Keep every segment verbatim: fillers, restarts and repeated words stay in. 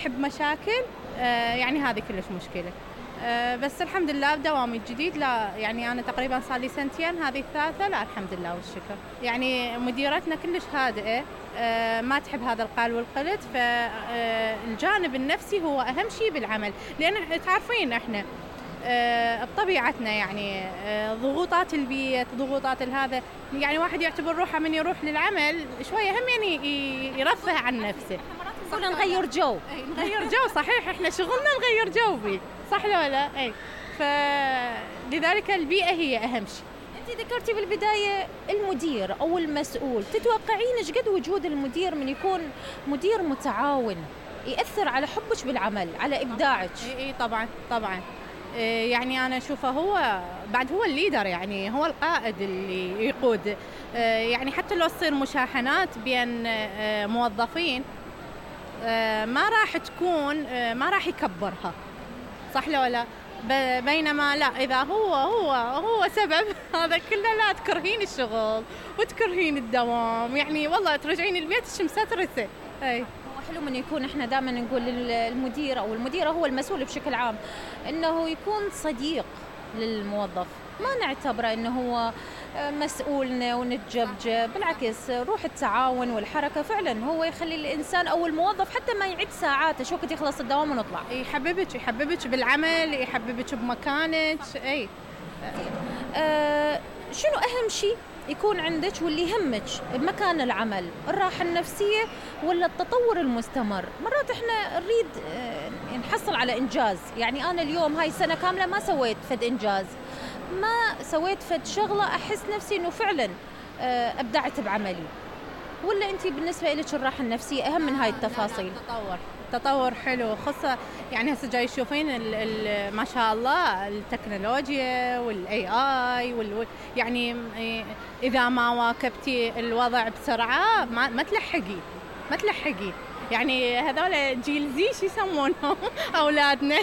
تحب مشاكل آه يعني هذه كلش مشكلة. آه بس الحمد لله بدوامي الجديد لا يعني أنا تقريبا صار لي سنتين هذه الثالثة لا الحمد لله والشكر. يعني مديرتنا كلش هادئة آه ما تحب هذا القال والقلت، فالجانب النفسي هو أهم شيء بالعمل، لأن تعرفين إحنا آه بطبيعتنا يعني آه ضغوطات البيت ضغوطات الهذا، يعني واحد يعتبر روحه من يروح للعمل شوية هم يعني يرفه عن نفسه. صرنا نغير جو. نغير جو صحيح، احنا شغلنا نغير جو بيه، صح ولا لا؟ اي فلذلك البيئة هي أهم شيء. انت ذكرتي بالبداية المدير أو المسؤول، تتوقعين ايش قد وجود المدير من يكون مدير متعاون يأثر على حبك بالعمل على إبداعك؟ اي اي طبعا طبعا. يعني أنا أشوفه هو بعد هو الليدر، يعني هو القائد اللي يقود. يعني حتى لو تصير مشاحنات بين موظفين ما راح تكون ما راح يكبرها، صح ولا لا؟ بينما لا إذا هو هو هو سبب هذا كله لا تكرهين الشغل وتكرهين الدوام، يعني والله ترجعين البيت مسترسة. أي حلو من يكون احنا دائما نقول للمدير او المديره هو المسؤول بشكل عام انه يكون صديق للموظف، ما نعتبره انه هو مسؤولنا ونتجبجب، بالعكس روح التعاون والحركه فعلا هو يخلي الانسان او الموظف حتى ما يعد ساعاته شو وقت يخلص الدوام ونطلع. يحببك يحببك بالعمل، يحببك بمكانك. اي أه شنو اهم شيء يكون عندك واللي يهمك بمكان العمل؟ الراحة النفسية ولا التطور المستمر؟ مرات احنا نريد نحصل على إنجاز، يعني أنا اليوم هاي سنة كاملة ما سويت فد إنجاز، ما سويت فد شغلة أحس نفسي إنه فعلا أبدعت بعملي، ولا أنتي بالنسبة لك الراحة النفسية أهم من هاي التفاصيل؟ التطور تطور حلو، خاصة يعني هسه جاي تشوفين ما شاء الله التكنولوجيا والاي اي وال يعني اذا ما واكبتي الوضع بسرعة ما, ما تلحقي ما تلحقي يعني هذول جيل زي شو يسمونهم اولادنا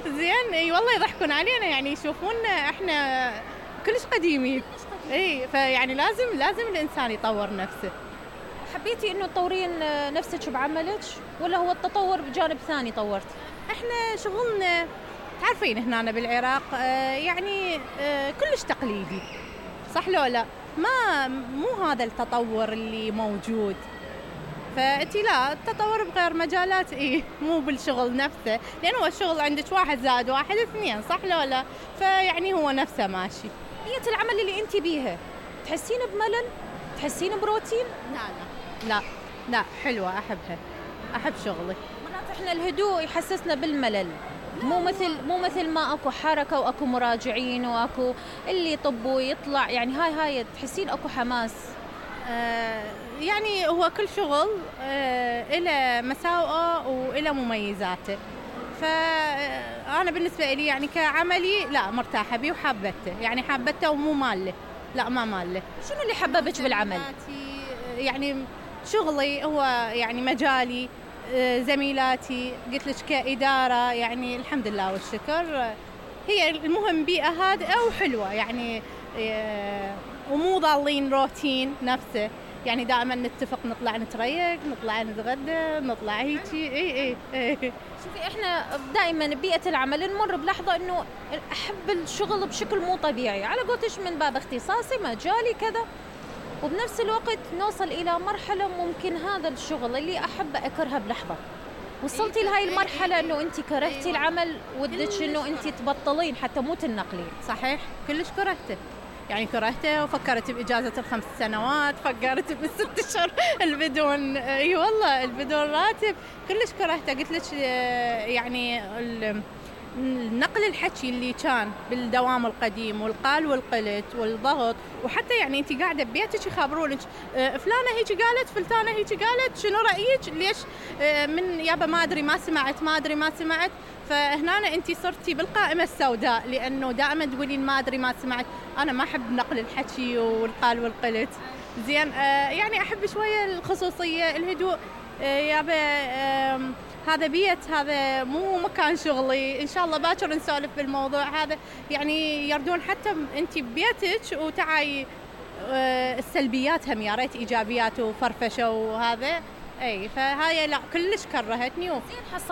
زين اي والله يضحكون علينا، يعني يشوفونا احنا كلش قديمين. اي فيعني لازم لازم الانسان يطور نفسه. حبيتي انه تطورين نفسك بعملك ولا هو التطور بجانب ثاني طورتي؟ احنا شغلنا تعرفين هنا بالعراق يعني كلش تقليدي، صح لو لا؟ ما مو هذا التطور اللي موجود، فأنتي لا التطور بغير مجالات ايه مو بالشغل نفسه، لأنه هو الشغل عندك واحد زائد واحد اثنين، صح لو لا؟ فيعني هو نفسه ماشي. بيئة العمل اللي انتي بيها تحسين بملل؟ تحسين بروتين؟ لا لا لا لا حلوة، أحبها، أحب شغلي. مرات إحنا الهدوء يحسسنا بالملل، مو مثل مو مثل ما أكو حركة وأكو مراجعين وأكو اللي يطب ويطلع، يعني هاي هاي تحسين أكو حماس. آه يعني هو كل شغل آه إله مساوئه وإله مميزاته، فأنا بالنسبة لي يعني كعملي لا مرتاحة بيه وحابته، يعني حابته ومو ماله، لا ما ماله. شنو اللي حببك بالعمل؟ يعني شغلي هو يعني مجالي، زميلاتي، قلت لك كإدارة يعني الحمد لله والشكر، هي المهم بيئة هادئة وحلوة يعني ومو ضالين روتين نفسه، يعني دائما نتفق نطلع نتريق نطلع نتغدى نطلع هيجي. اي اي شوفي احنا دائما ببيئة العمل نمر بلحظة انه احب الشغل بشكل مو طبيعي، على قولتش من باب اختصاصي مجالي كذا، وبنفس الوقت نوصل إلى مرحلة ممكن هذا الشغل اللي أحب أكرهه بلحظة. وصلتي لهاي المرحلة إنه أنت كرهتي العمل ودك إنه أنت تبطلين حتى مو تنقلين؟ صحيح كلش كرهته، يعني كرهته وفكرت بإجازة الخمس سنوات، فكرت بالست أشهر البدون اي والله البدون راتب، كلش كرهته. قلت لك يعني نقل الحكي اللي كان بالدوام القديم والقال والقلت والضغط، وحتى يعني انت قاعده ببيتك يخبرونك فلانه هيك قالت فلانه هيك قالت شنو رايك ليش من يابا ما ادري ما سمعت ما ادري ما سمعت، فهنا انت صرتي بالقائمه السوداء لانه دائما تقولين ما ادري ما سمعت. انا ما احب نقل الحكي والقال والقلت زين، يعني احب شويه الخصوصيه الهدوء. يابا هذا بيت، هذا مو مكان شغلي، إن شاء الله باكر نسولف بالموضوع هذا، يعني يردون حتى أنت ببيتك وتعاي السلبيات هم يا ريت إيجابيات وفرفشة وهذا. أي فهاي لا كلش كرهتني. زين حصلت